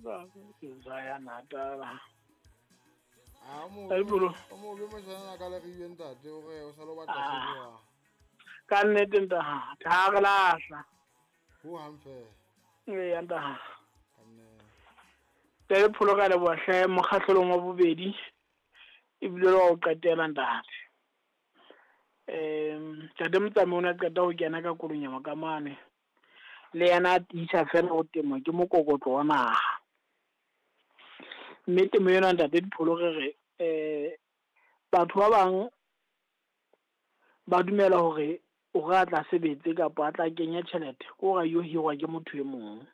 Ke ya Natala. A mo Aipolo. o mo be motjhana ka le riwe ntate o re o sa lo batla Ah. seboa. Ka nnete ntate, ha re lahla. Ho hang fela. Eya ntate. Ka nnete. Tele pholo ka leboha hle mokgahlelong wa bobedi ebile le wa ho qetela ntate. Ntate Motsamai o ne a qeta ho kena ka Kolonyama ka mane. Le yena a tiisa fela ho temo ke mokokotlo wa naha. Mme temo ena ntate Dipholo re re batho ba bang ba dumela hore o re a tla sebetse kapa a tla kenya tjhelete ke hore a yo hirwa ke motho e mong.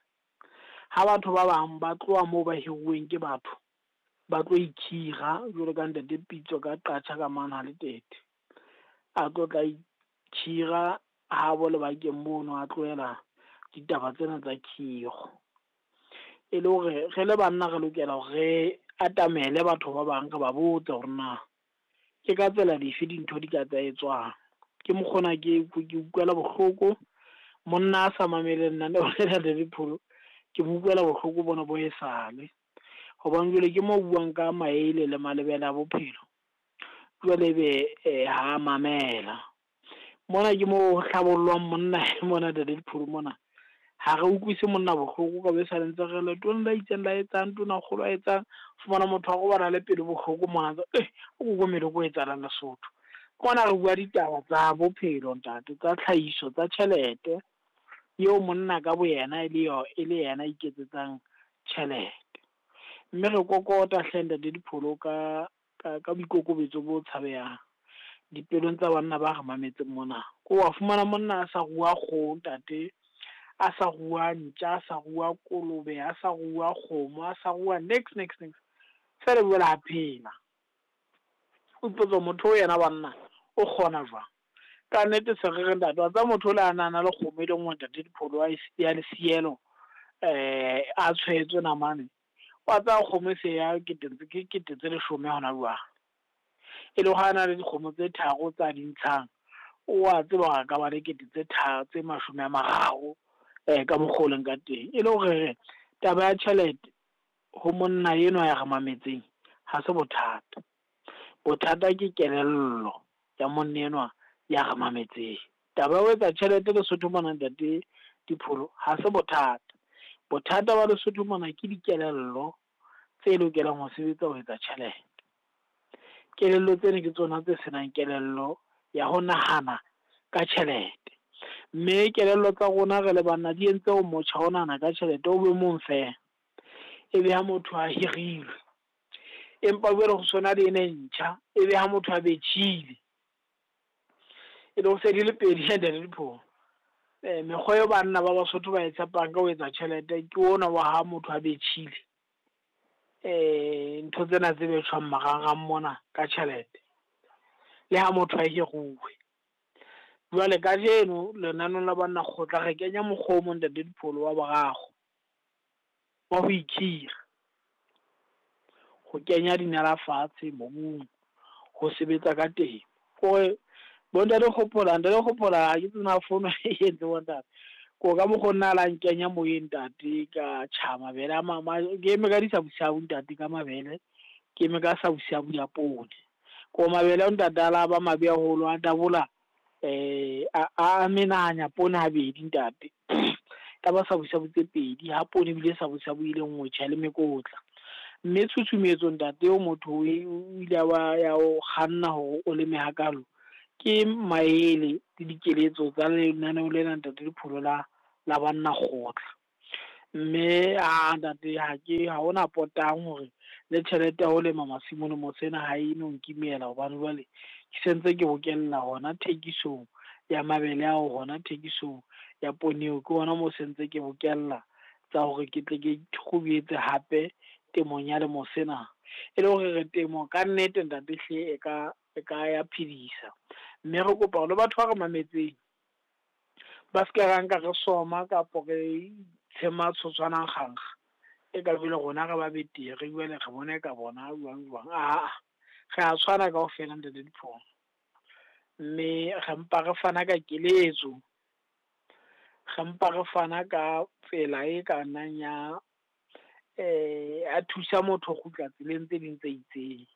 Ha batho ba bang ba tloha moo ba hiruweng ke batho ba tlo ikhira jwalo ka ntate Pitso ka Qacha ka mane ha Letete. A tlo tla ikhira habo lebakeng mono a tlohela ditaba tsena tsa khiro. E le hore re le banna re lokela hore re atamele batho ba bang re ba botse hore na ke ka tsela dife dintho di ka tsa etswang. Ke mokgona ke ke utlwela bohloko monna a sa mamele lenaneo lena le Dipholo, ke mo utlwela bohloko bona bo esale. Hobane jwale ke mo o buang ka maele le malebela a bophelo. Jwale ebe ha mamela. Mona ke mo ho hlabollwang monna mona ntate Dipholo mona. Ha re utlwise monna bohloko ka be sale ntse re letona la itseng la etsang, tonakgolo a etsang. Fumana motho a robala le pelo bohloko mona ntse o kokomele ko etsahalang Lesotho. Mona re bua ditaba tsa bophelo ntate, tsa tlhahiso, tsa tjhelete. Eo monna ka boyena e le yo e le yena a iketsetsang tjhelete. Mme re kokota hle ntate Dipholo ka ka boikokobetso bo tshabehang dipelong tsa banna ba re mametseng mona. Ko wa fumana monna a sa rua kgoho ntate, a sa rua ntja, a sa rua kolobe, a sa rua kgomo, a sa rua next next next. Feela jwale a phela. O ipotsa motho o yena banna o kgona jwang? Ka nnete se re re ntate wa tseba motho o le a nana le kgomo e le nngwe ntate Dipholo a ya lesielo a tshwetswe namane. Wa tseba kgomo e se ya kete ke kete tse leshome hona jwale. E le ha na le dikgomo tse tharo tsa di ntshang, o a tseba hore a ka ba le kete tse tharo tse mashome a mararo ka mokgwa o leng ka teng. E le hore re taba ya tjhelete ho monna enwa ya re mametseng ha se bothata. Bothata ke kelello ya monna enwa ya re mametseng. Taba ya ho etsa tjhelete Lesotho mona ntate Dipholo ha se bothata. Bothata ba Lesotho mona ke dikelello tse lokelang ho sebetsa ho etsa tjhelete. Kelello tsena ke tsona tse senang kelello ya ho nahana ka tjhelete. Mme kelello tsa rona re le banna di entse ho motjha ho nahana ka tjhelete o be mong fela. Ebe ha motho a hirilwe. Empa jwale ho sona le ena e ntjha, ebe ha motho a betjhile. E le ho se di le pedi ntate Dipholo. Mekgwa eo banna ba Basotho ba e tshepang ka ho etsa tjhelete ke ona wa ha motho a betjhile. Ntho tsena tse betjhwang marangrang mona ka tjhelete. Le ha motho a hiruwe. Jwale kajeno lenaneong la banna kgotla re kenya mokgwa o mong ntate Dipholo wa boraro. Wa ho ikhira. Ho kenya dinala fatshe mobung, ho sebetsa ka temo. Kore bo ntate Kgopola, ntate Kgopola ha ke tsena fono e entse bo ntate. Ko ka mokgwa nna la nkenya moyeng ntate ka tjha mabele a ke eme ka disabusabu ntate ka mabele, ke eme ka sabusabu ya poone. Ko mabele a ntate a la ba mabe haholo a dabola a menahanya poone habedi ntate. Ka ba sabusabu tse pedi ha poone ebile sabusabu e le nngwe tjhe le mekotla. Mme tshusumetso ntate eo motho o ile wa ya o kganna hore o leme hakalo ke maele le dikeletso tsa lenaneo lena ntate Dipholo la banna kgotla. Mme a ntate ha ke ha hona potang hore le tjhelete ya ho lema masimo lemo sena ha e no nkimela hobane jwale ke sentse ke bokella hona thekisong ya mabele ao hona thekisong ya poone eo ke hona moo sentse ke bokella tsa hore ke tle ke kgubietse hape temong ya lemo sena. E le hore re temo ka nnete ntate hle e ka ya phedisa. Mme re kopa hore le batho ba re mametseng ba se ke ra nka re soma kapo re tshema tshotshwana kgankga. E ka jwale rona re ba betere jwale re bona e ka bona jwang jwang. Aa, re a tshwana kaofela ntate Dipholo. Mme re mpa re fana ka keletso, re mpa re fana ka tsela e ka nnang ya A thusa motho ho kgutla tseleng tse ding tse itseng.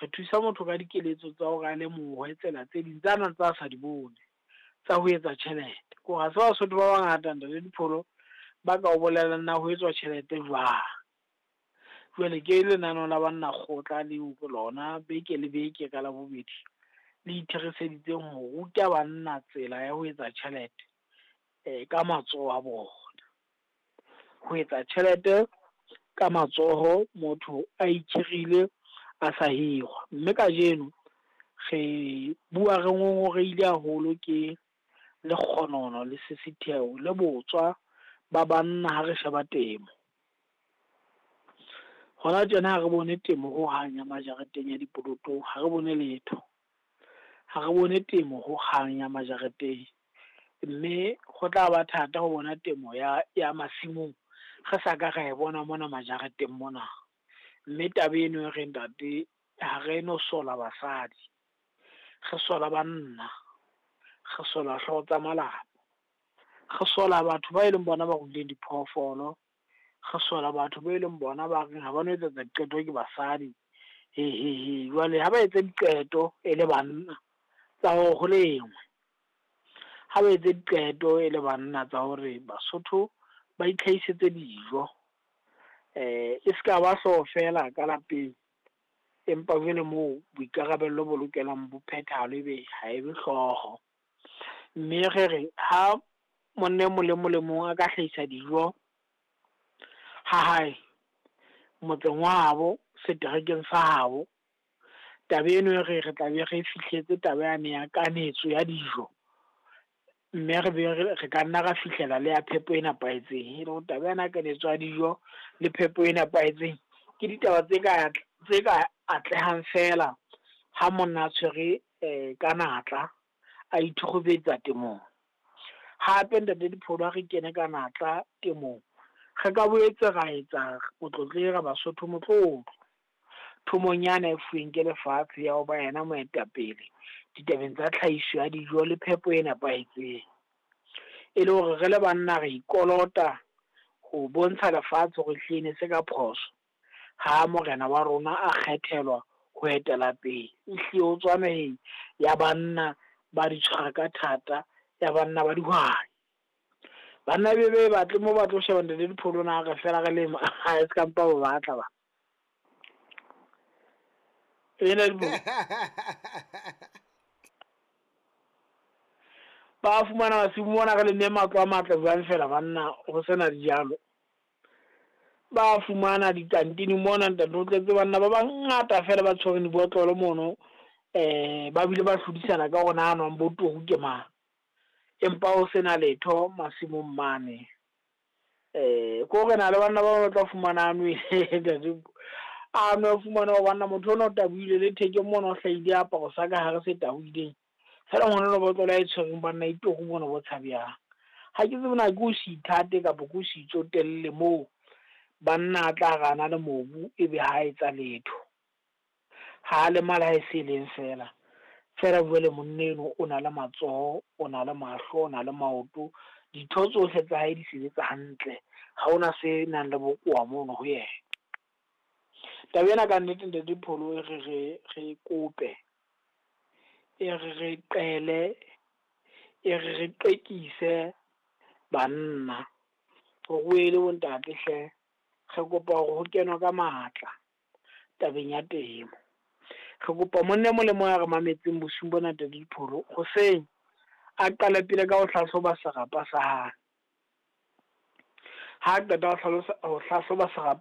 Re thusa motho ka dikeletso tsa hore a lemohe tsela tse ding tsa nang tsa sa di bone tsa ho etsa tjhelete. Ke hore ha se Basotho ba bangata ntate Dipholo ba ka o bolellang na ho etswa tjhelete jwang. Jwale ke lenaneo la banna kgotla leo lona beke le beke ka Labobedi, le itheriseditseng ho ruta banna tsela ya ho etsa tjhelete ka matsoho a bona. Ho etsa tjhelete ka matsoho motho a ikhirile a sa hirwa. Mme kajeno re bua re ngongorehile haholo ke lekgonono le sisitheho le botswa ba banna ha re sheba temo. Hona tjena ha re bone temo ho hang ya majareteng ya dipolotong, ha re bone letho. Ha re bone temo ho hang ya majareteng, mme ho tla ba thata ho bona temo ya masimong re sa ka ra e bona mona majareteng mona. Mme taba eno e re ntate ha re no sola basadi, re sola banna, re sola hlooho tsa malapa, re sola batho ba e leng bona ba ruileng diphoofolo, re sola batho be leng bona ba reng ha ba no etsetsa diqeto ke basadi hehehe. Jwale ha ba etse diqeto e le banna tsa hore ho lengwe, ha ba etse diqeto e le banna tsa hore Basotho ba itlhahisetse dijo. E seka ba hlooho fela ka lapeng, empa jwale moo boikarabello bo lokelang bo phethahale ebe ha ebe hlooho. Mme re re ha monna e mong le mong le mong a ka hlahisa dijo ha hae, motseng wa habo, seterekeng sa habo, taba eno e re re tla be re fihletse taba yane ya kanetso ya dijo. Mme re be re ka nna ra fihlela le ya phepo e nepahetseng. E le hore taba ena ya kanetso ya dijo le phepo e nepahetseng ke ditaba tse ka atlehang fela ha monna a tshwere ka natla, a ithokgobetsa temong. Hape ntate Dipholo ha re kene ka natla temong, re ka boetse ra etsa motlotlehi ra Basotho motlotlo. Thomong yana e fuweng ke lefatshe ya ho ba yena moetapele ditabeng tsa tlhahiso ya dijo le phepo e nepahetseng. E le hore re le banna re ikolota ho bontsha lefatshe hore ehlile ne se ka phoso ha morena wa rona a kgethelwa ho etela pele. Ehlile o tswa naheng ya banna ba di tshwara ka thata, ya banna ba dihwai. Banna be be batle mo ba tlo sheba ntate Dipholo na re fela re lema ha e ska mpa ba batla ba. Ba fumana masimo mona re lemme matlo a matle jwang fela banna ho sena dijalo. Ba fumana dikantini mona ntate o tletse banna ba bangata fela ba tshwereng dibotlolo mono, ba bile ba hlodisana ka hore na nwang bo turu ke mang. Empa ho sena letho masimong mane. Ke hore na le banna ba tla fumana a nwele a nwe fumana hore banna motho ona o tabohile le thekeng mona o hlahile aparo sa ka hare se tabohileng. Fela ngwana enwa botlolo a e tshwereng banna e turu mona bo tshabehang. Ha ke tsebe na ke ho se ithate kapa ke ho se itsotelle moo banna a tla re ana le mobu ebe ha etsa letho. Ha lemala ha e se leng fela. Fela jwale monna eno o na le matsoho, o na le mahlo, o na le maoto, ditho tsohle tsa hae di sebetsa hantle. Ha hona se nang le bokowa mono ho yena. Taba ena ka nnete ntate Dipholo e re re kope, e re re qele, e re re qekise banna hore o ele bo ntate hle. Re kopa hore ho kenwe ka matla tabeng ya temo. Re kopa monna e mong le mong a re mametseng bosiung bona ntate Dipholo, hoseng a qale pele ka ho hlahloba serapa sa hae. Ha qeta ho hlahloba serapa